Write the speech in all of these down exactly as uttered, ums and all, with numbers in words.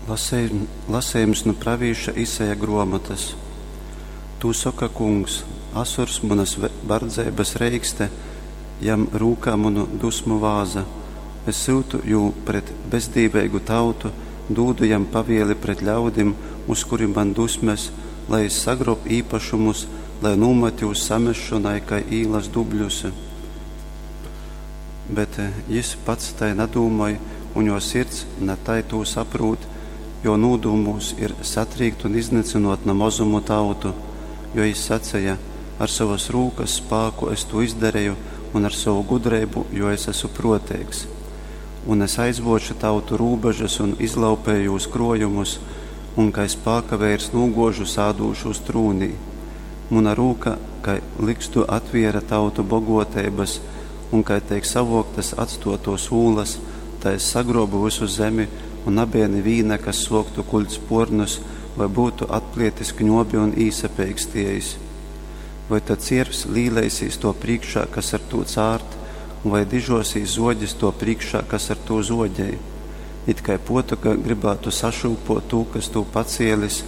Lasejums nu pravīša Isaja gruomotys. Tū soka Kungs: Asurs munys bardzeibys reikste, jam rūkā munu dusmu vāza. Es syutu jū pret bezdīveigu tautu, dūdu jam pavieli pret ļaudim, uz kurim man dusmes, lai jis sagruob īpašumus, lai nūmat jūs samesšonai kai īlas dubļus. Bet jis pats tai nadūmoj, un juo sirds na tai tū saprūt, juo nūdūmūs ir satrīkt un iznycynuot na mozumu tautu, jo jis saceja: Ar sovys rūkys spāku es tū izdareju un ar sovu gudreibu, jo es esmu pruoteigs. Un es aizvuoču tautu rūbežus un izlaupeju jūs kruojumus, un kai spākaveirs nūguožu sādūšūs trūnī. Muna rūka kai ligzdu atviera tautu boguoteibys, un kai teik savuoktys atstuotuos ūlys, tai es sagruobu vysu zemi, un nabeja nivīna, kas suoktu kuļt spuornus voi byutu atplietis kņuobi un īsapeikstiejis. Voi tad ciervs līleisīs tuo prīškā, kas ar tū cārt, un vai dižuosīs zuoģis tuo prīškā, kas ar tū zuoģej? It kai puotoga grybātu sašyupuot tū, kas tū pacielis,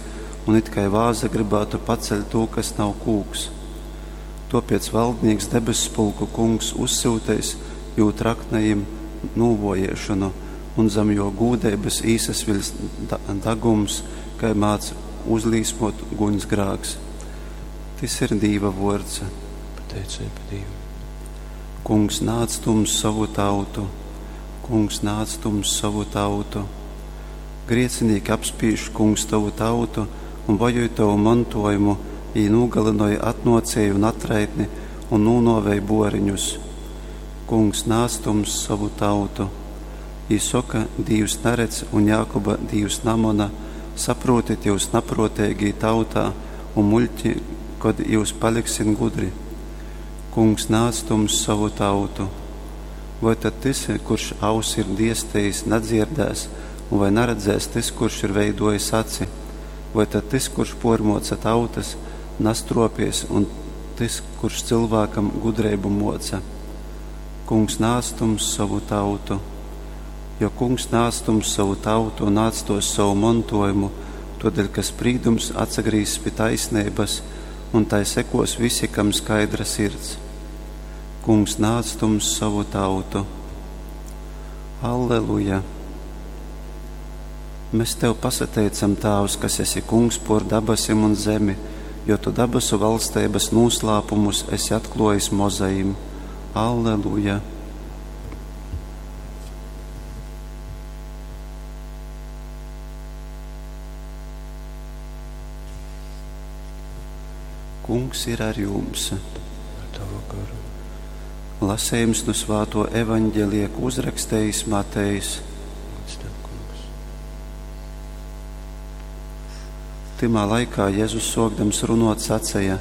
un it kai vāza grybātu paceļt tū, kas nav kūks. Tuopiec valdnīks debesspulku Kungs uzsyuteis jū traknajim nūvuojiešonu, un zam juo gūdeibys īsasviļs dagums, kai mādz uzlīsmuot guņsgrāks. Tys ir Dīva vuords. Pateiceiba Dīvam. Kungs, nāc tu mums sovu tautu! Kungs, nāc tu mums sovu tautu! Griecinīki apspīž, Kungs, tovu tautu un vajoj tovu montuojumu, jī nūgalynoj atnuocieju un atraitni un nūnuovej buoriņus. Kungs, nāc tu mums sovu tautu! Jī soka, Dīvs naredz un Jākuba Dīvs namona, saprūtit jyus napruoteigī tautā un muļķi, kod jyus paliksit gudri? Kungs, nāc tu mums sovu tautu! Voi tad tys, kurš ausi ir diestejis, nadzierdēs, un vai naredzēs tys, kurš ir veiduojis aci? Voi tad tys, kurš puormuoca tautys, nastruopies, un tys, kurš cylvākam gudreibu muoca? Kungs, nāc tu mums sovu tautu! Jo Kungs nāc tu mums sovu tautu un atstuos sovu montuojumu, tuodeļ ka sprīdums atsagrīzs pi taisneibys, un tai sekos visi, kam skaidra sirds. Kungs, nāc tu mums sovu tautu! Alleluja! Mēs tev pasateicam, Tāvs, kas esi Kungs por dabasim un zemi, jo tu dabasu valsteibas nūslāpumus esi atkluojis mozajim. Alleluja! Kungs ir ar jums. Ar tavu garu. Lasījums no Svāto evaņģelija, ko uzrakstījis Matejs. Gods tev, Kungs. Tymā laikā Jēzus sōkdams runot saceja: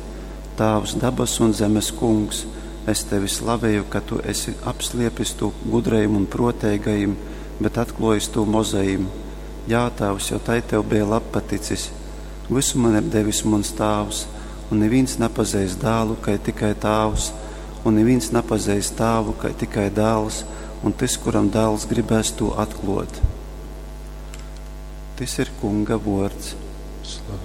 Tāvs, dabasu un zemes Kungs, es tevi slaveju, ka tu esi apsliepis tū gudrajim un pruoteigajim, bet atkluojis tū mozajim. Jā, Tāvs, jo tai tev bija labpaticis. Visu man ir devis muns Tāvs, un nivīns napazeist dālu, kai tikai Tāvs, un nivīns napazeist Tāvu, kai tikai dāls, un tys, kuram dāls gribēs tū atkluot. Tys ir Kunga vuords. Slava.